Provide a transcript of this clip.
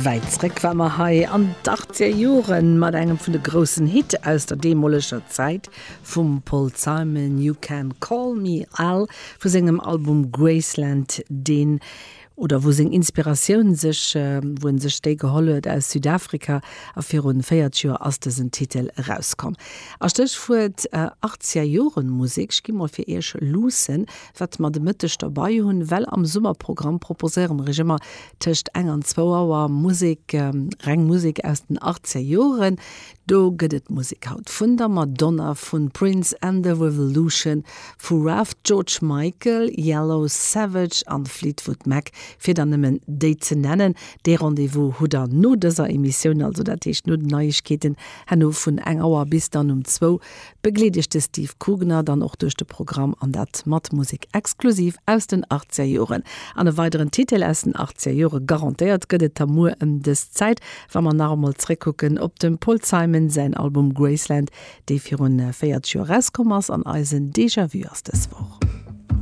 Wäit zréck war mer hei an d'Achtzeger Joren mat engem vun de groussen Hit aus der deemoleger Zäit vum Paul Simon, You Can Call Me Al vu sengem Album Graceland, deen oder wou seng Inspiratioun sech, wou en sech déi geholl huet aus Südafrika a virun 40 Joer ass dësen Titel erauskomm. A Stéchwuert Achtzeger Joren Musek, ech gi mol fir iech luussen, wat mer de Mëtteg derbei hunn, well am Summerprogramm proposéiere mer iech ëmmer tëscht eng an zwou Auer Musek, reng Musek aus den Achtzeger Joren. Do gëtt et Musek haut vun der Madonna, vun Prince and the Revolution, vu Ralph George Michael, Yellow Savage an Fleetwood Mac, fir der nëmmen déi ze nennen. Dee Rendez-vous hutt der no dëser Emissioun, also dat heescht no den Neiegkeeten herno vun eng Auer bis dann um zwou. Begleet iech de Steve Kugner dann och duerch de Programm an dat mat Musek exklusiv aus den 80er Joren. An e weideren Titel aus den 80er Jore garantéiert gëtt et da muer ëm dës Zäit, wa mer nach emol zréckkucken op dem Paul Simon säin Album Graceland, dee virun 40 Joer erauskomm ass an eisen Déjà-vu ass dës Woch.